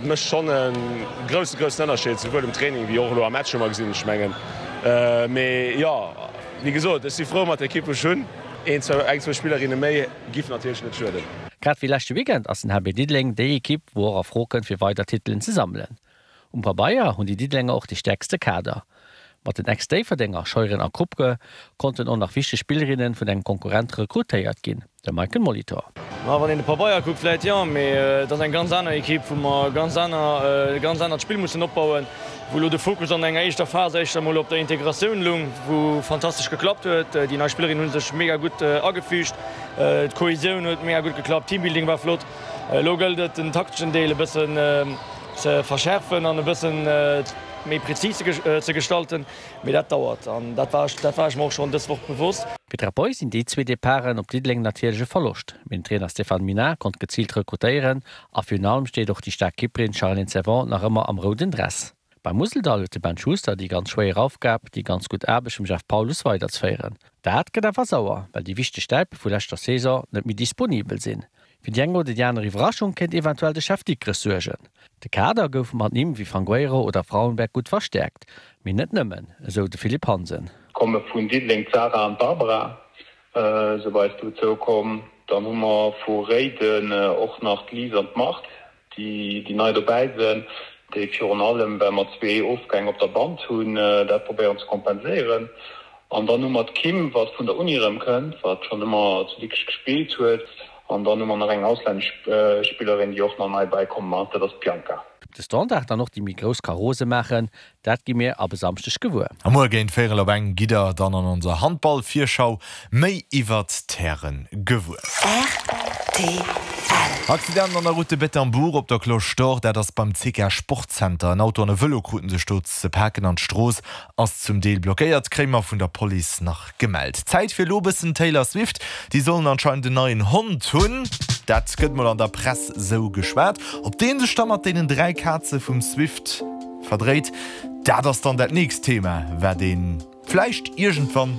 Mécht schonn e grousse, groussen Ënnerscheed, souwuel um Training wéi och elo am Match hu mer gesinn, ech mengen. Mee jo, wéi gesot, ech si frou mat der Ekipp wou ech hunn. Een, zwou, eng, zwou Spillerinne méi giff natierlech net schueden. Grad wéi leschte Weekend ass den HB Diddeleng déi Ekipp, wou och a Fro kënnt fir weider Titelen ze sammelen. Um Pabeier hunn déi Diddelenger och de stäerkste Kader. Mat den Ex-Déifferdenger Scheuren a Kruppke konnten och nach wichteg Spillerinne vun engem Konkurrent rekrutéiert ginn, de Michael Molitor. Ma wann een de Pabeier kuckt, vläit jo, mee et ass eng ganz aner Ekipp, wou mer ganz aner, e ganz anert Spill mussen opbauen, wou elo de Fokus an enger éischter Phas éischter emol op der Integratioun lung, wou fantastesch geklappt huet. Déi nei Spillerinnen hu sech mega gutt agefügt, d'Kohesioun huet mega gutt geklappt, Teambuilding war flott. Elo gëllt et, den takteschen Deel e bëssen ze verschärfen an e bëssen méi prezis ze gestalten, mee dat dauert an dat war dat war ech mer och schonn dës Woch bewosst. Fir d'Rapoi sinn déi zwee Departen op Diddeleng natierlech e Verloscht, mee den Trainer Stéphane Minard konnt geziilt rekrutéieren a virun allem steet och déi staark Kipperin Charlene Servant nach ëmmer am rouden Dress. Beim Museldall huet de Ben Schuster déi ganz schwéier Aufgab, déi ganz gutt Aarbecht vum Jeff Paulus weiderzeféieren. Dat gëtt awer sauer, well déi wichteg Stäipe vu leschter Saison net méi disponibel sinn. Fir déi eng oder déi aner Iwwerraschung kéint eventuell de Chef Dikrech suergen. De Kader gouf mat Nimm wéi Fangueiro oder Frauenberg gutt verstäerkt, mee net nëmmen, esou de Philippe Hansen. Komme vun Diddeleng d'Sarah an d'Barbara si bei eis dozou komm. Dann hu mer vu Réiden och nach d'Lise an d'Marthe, déi nei dobäi sinn, déi virun allem, well mer zwee Ofgäng op der Band hunn, dat probéieren ze kompenséieren. An dann hu mer d'Kim, wat vun der Uni erëm kënnt, wat schonn ëmmer zu Dikrech gespillt huet. An dann hu mer nach eng auslännesch Spillerin, déi och nach nei bäikomm ass, dat ass d'Bianca. Ob de Standard dann och déi méi grouss ka rose maachen, dat gi mir ab e Samschdeg gewuer. A muer géint véirel op eng gitt der dann an onser Handball-Virschau méi iwwert d'Häre gewuer. Rtl. Accident an der Route de Bettembourg op der Cloche d'Or, dat ass beim CK Sportcenter. En Auto an e Vëlo kruten sech do ze paken an d'Strooss ass zum Deel blockéiert, kréie mer vun der Police nach gemellt. Zäit fir elo bëssen Taylor Swift, déi sollen anscheinend en neien Hond hunn. Dat gëtt mol an der Press sou geschwat. Ob dee sech da mat deenen 3 Kaze vum Swift verdréit, dat ass dann dat nächst Thema, wat ee vläicht iergendwann.